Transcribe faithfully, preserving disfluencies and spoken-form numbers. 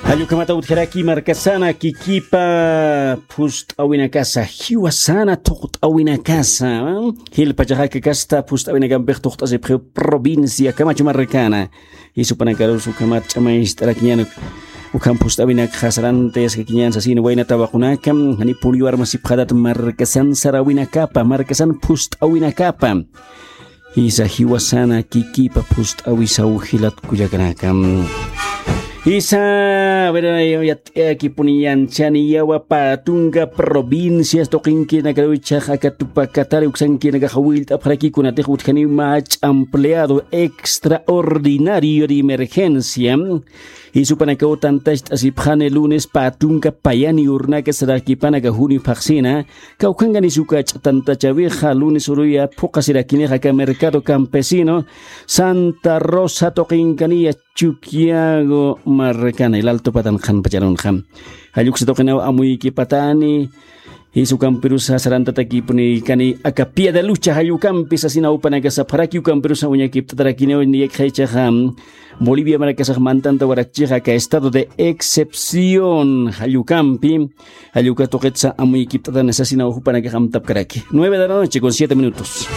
Jallukhamata utjaraki markasana kikipa phust'awinakasa, jiwasana thuqt'awinakasa. Jilpachaxa akakasta phust'awinakampix thuqt'asipxiw provincia Camacho markana. Jisupanakarusa ukhamat ch'amayst'arakiñan. Ukham phust'awinakxa sarantayaskakiñan sasin waynata waqunaka. Jani puriw armasipxatat markasan sarawinakapa, markasan phust'awinakapa. Jisa jiwasana kikipa phust'awisaw jilat kullakanaka. Jisa, a ver, yat'ayakipuni yanchani yawa pä tunka provincias tuqinkinakaruw ichhax aka Tupac Katari uksankinakax willt'apxaraki kunatix utjaniw mä ch'ampleado extraordinario de emergencia. Jisupanakaw tantacht'asipxani lunes pä tunka payani urnaka sarakipan aka junio phaxsina, kawkhankanis uka ch'atantachawixa lunes uruya phuqasirakinix aka mercado campesino Santa Rosa tuqinkaniya Chuquiago markana, el Alto patan qhanpacharunxa. Jalluksa tuqinaw amuykipatani, jisa ukampirusa sarantatakipuni kani aka pie de lucha jallukampi sasina upanakasapxaraki ukampirusa uñakipt'atarakiniw niyakxaychaxa Bolivia markasax mantanta warakchixa aka estado de excepción jallukampi, jalluka tuqitsa amuykipt'atani sasina upanakax amtapkaraki. Nueve de la noche con siete minutos.